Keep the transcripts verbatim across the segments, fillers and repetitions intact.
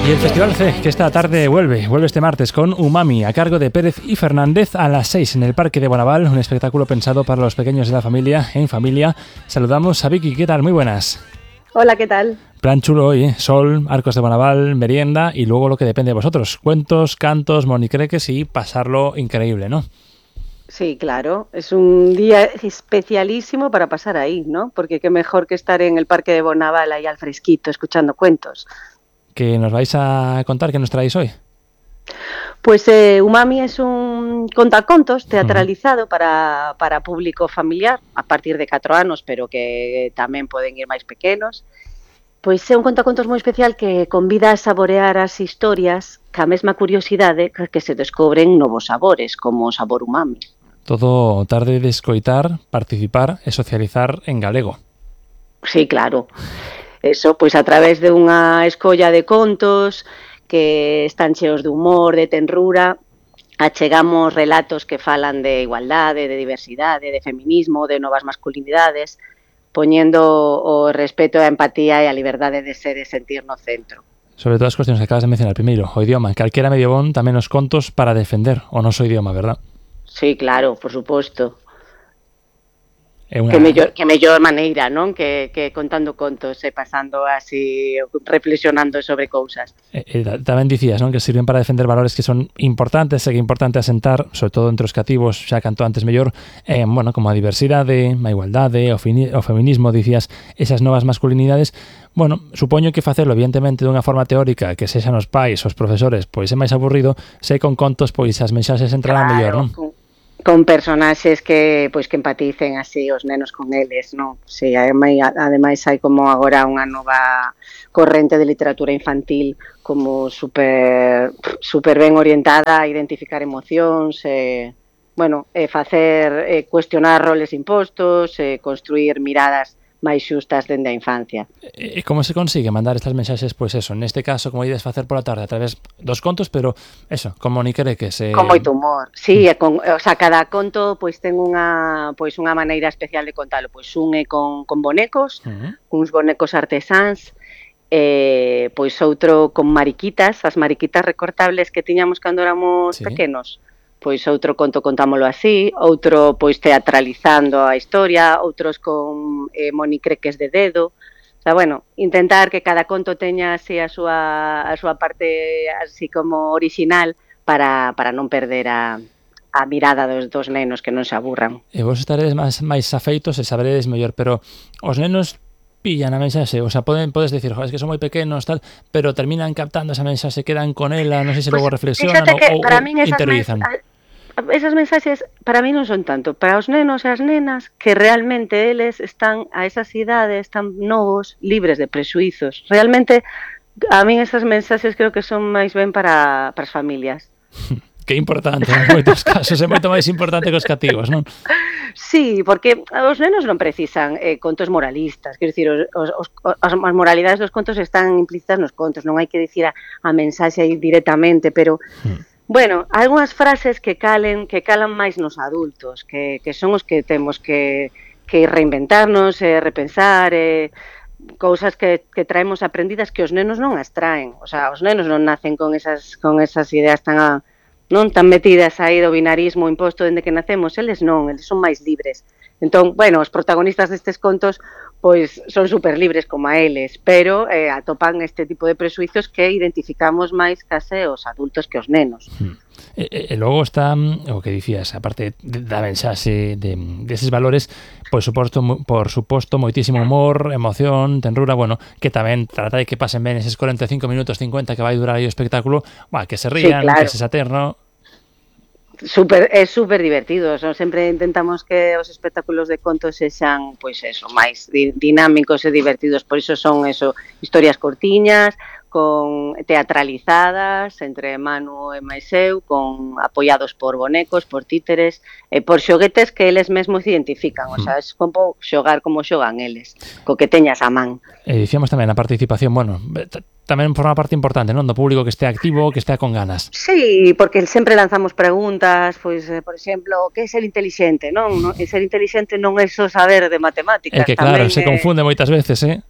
Y el Festival C, que esta tarde vuelve, vuelve este martes con Umami, a cargo de Pérez y Fernández a las seis en el Parque de Bonaval, un espectáculo pensado para los pequeños de la familia, en familia. Saludamos a Vicky, ¿qué tal? Muy buenas. Hola, ¿qué tal? Plan chulo hoy, ¿eh? Sol, arcos de Bonaval, merienda y luego lo que depende de vosotros, cuentos, cantos, monicreques y pasarlo increíble, ¿no? Sí, claro, es un día especialísimo para pasar ahí, ¿no? Porque qué mejor que estar en el Parque de Bonaval ahí al fresquito, escuchando cuentos. ¿Qué nos vais a contar? ¿Qué nos traéis hoy? Pues eh, Umami es un contacontos teatralizado uh-huh. para, para público familiar a partir de catro anos, pero que tamén poden ir máis pequenos. Pois é un contacontos moi especial que convida a saborear as historias ca mesma curiosidade que se descobren novos sabores, como o sabor umami. Todo tarde de escoitar, participar e socializar en galego. Sí, claro. Eso, pois a través de unha escolla de contos que están cheos de humor, de tenrura, achegamos relatos que falan de igualdade, de diversidade, de feminismo, de novas masculinidades, poñendo o respeto, a empatía e a liberdade de ser e sentir no centro. Sobre todo as cuestións que acabas de mencionar, primeiro, o idioma, calquera medio bon tamén os contos para defender o noso idioma, verdad? Sí, claro, por suposto. Una... Que mellor, que mellor maneira, non? Que, que contando contos e pasando así, reflexionando sobre cousas. E, e, tamén dicías, non? Que sirven para defender valores que son importantes e que é importante asentar, sobre todo entre os cativos, xa canto antes mellor, eh, bueno, como a diversidade, a igualdade, o, fini, o feminismo, dicías, esas novas masculinidades. Bueno, supoño que facelo evidentemente dunha forma teórica que sexan os pais, os profesores, pois é máis aburrido, se con contos pois as mensaxes entrarán claro, mellor, non? Con... con personaxes que pois que empaticen así os nenos con eles, non? Si, ademais hai como agora unha nova corrente de literatura infantil como super super ben orientada a identificar emocións, e, bueno, e facer e cuestionar roles impostos, e construir miradas máis xustas dende a infancia. E como se consigue mandar estas mensaxes, pois pues eso, neste caso, como ides facer pola tarde, a través dos contos, pero eso, como monicreques. Eh... Con moito humor, sí, mm. con, o sea, cada conto pois ten unha pois unha maneira especial de contalo, pois un é con, con bonecos, uh-huh. uns bonecos artesáns, e pois outro con mariquitas, as mariquitas recortables que tiñamos cando éramos sí. pequenos. Pois outro conto contámolo así, outro pois teatralizando a historia, outros con eh, monicreques de dedo. O sea, bueno, intentar que cada conto teña así a súa a súa parte así como orixinal para para non perder a a mirada dos dos nenos, que non se aburran. E vos estaredes máis máis afeitos e saberedes mellor, pero os nenos pillan a mensaxe, o sea, poden, podes decir, joder, es que son moi pequenos, tal, pero terminan captando esa mensaxe, quedan con ela, non sei se pues, logo reflexionan ou, ou interiorizan. Mes, esas mensaxes para mí non son tanto, para os nenos e as nenas, que realmente eles están a esas idades tan novos, libres de prexuizos. Realmente, a mí esas mensaxes creo que son máis ben para, para as familias. Que importante, en moitos casos, é moito máis importante que os cativos, non? Sí, porque os nenos non precisan eh, contos moralistas, quero dicir, os, os, os, as moralidades dos contos están implícitas nos contos, non hai que dicir a, a mensaxe aí directamente, pero, hmm. bueno, algunhas frases que calen, que calan máis nos adultos, que, que son os que temos que, que reinventarnos, eh, repensar, eh, cousas que, que traemos aprendidas que os nenos non as traen, o sea, os nenos non nacen con esas, con esas ideas tan a, non tan metidas aí do binarismo imposto dende que nacemos, eles non, eles son máis libres. Entón, bueno, os protagonistas destes contos pois son super libres como a eles, pero eh, atopan este tipo de presuizos que identificamos máis case os adultos que os nenos. Hmm. E, e logo está o que dicías, aparte da mensaxe de deses valores, por suposto, por suposto, moitísimo humor, emoción, tenrura, bueno, que tamén trata de que pasen ben eses cuarenta e cinco minutos, cincuenta que vai durar aí o espectáculo, bah, que se rían, sí, claro. Que se saterno. Super, é super divertido, so, sempre intentamos que os espectáculos de contos sexan, pois eso, máis dinámicos e divertidos, por iso son eso, historias cortiñas, con teatralizadas entre Manu e máis eu, con apoiados por bonecos, por títeres, e por xoguetes que eles mesmos identifican, o sea, es como xogar como xogan eles, co que teñas a man. E dicíamos tamén a participación, bueno, tamén forma parte importante, non, do público que este activo, que este con ganas. Sí, porque sempre lanzamos preguntas, pois, eh, por exemplo, que é ser intelixente, non? E ser intelixente non é só saber de matemáticas. É que claro, tamén se é... confunde moitas veces, eh?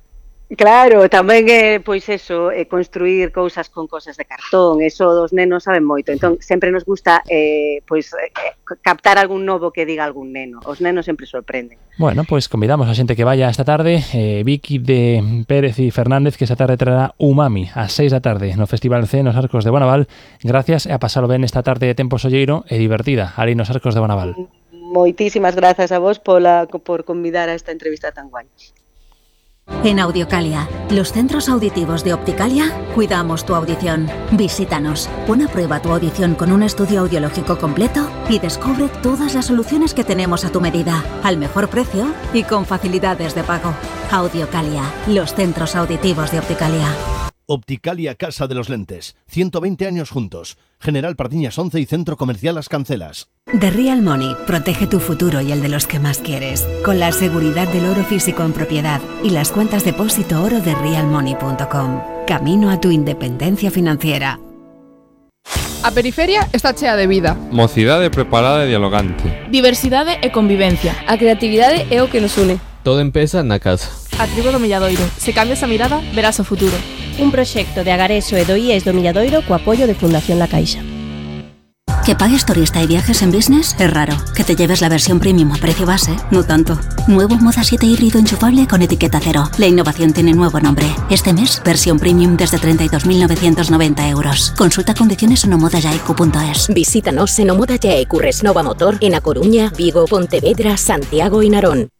Claro, tamén é, pois eso, é construir cousas con cosas de cartón, eso dos nenos saben moito, entón sempre nos gusta eh, pois eh, captar algún novo que diga algún neno, os nenos sempre sorprenden. Bueno, pois convidamos a xente que vaya esta tarde, eh, Vicky de Pérez e Fernández, que esta tarde traerá Umami ás seis da tarde no Festival C nos Arcos de Bonaval. Gracias e a pasalo ben esta tarde de tempo solleiro e divertida ali nos Arcos de Bonaval. Moitísimas grazas a vos pola, por convidar a esta entrevista tan guai. En Audiocalia, los centros auditivos de Opticalia, cuidamos tu audición. Visítanos, pon a prueba tu audición con un estudio audiológico completo y descubre todas las soluciones que tenemos a tu medida, al mejor precio y con facilidades de pago. Audiocalia, los centros auditivos de Opticalia. Opticalia Casa de los Lentes, ciento veinte años juntos. General Pardiñas once y Centro Comercial Las Cancelas. The Real Money protege tu futuro y el de los que más quieres, con la seguridad del oro físico en propiedad y las cuentas depósito oro de real money punto com. Camino a tu independencia financiera. A periferia está chea de vida. Mocidade preparada e dialogante. Diversidade e convivencia. A creatividade é o que nos une. Todo empeza na casa. A tribo do Milladoiro. Se cambias a mirada, verás o futuro. Un proxecto de Agareso e do I E S do Milladoiro co apoio de Fundación La Caixa. Que pagues turista y viajes en business es raro. Que te lleves la versión premium a precio base, no tanto. Nuevo Moda siete híbrido enchufable con etiqueta cero. La innovación tiene nuevo nombre. Este mes, versión premium desde treinta y dos mil novecientos noventa euros. Consulta condiciones en omoda yaiku punto es. Visítanos en Omoda Yaiku Resnova Motor en A Coruña, Vigo, Pontevedra, Santiago y Narón.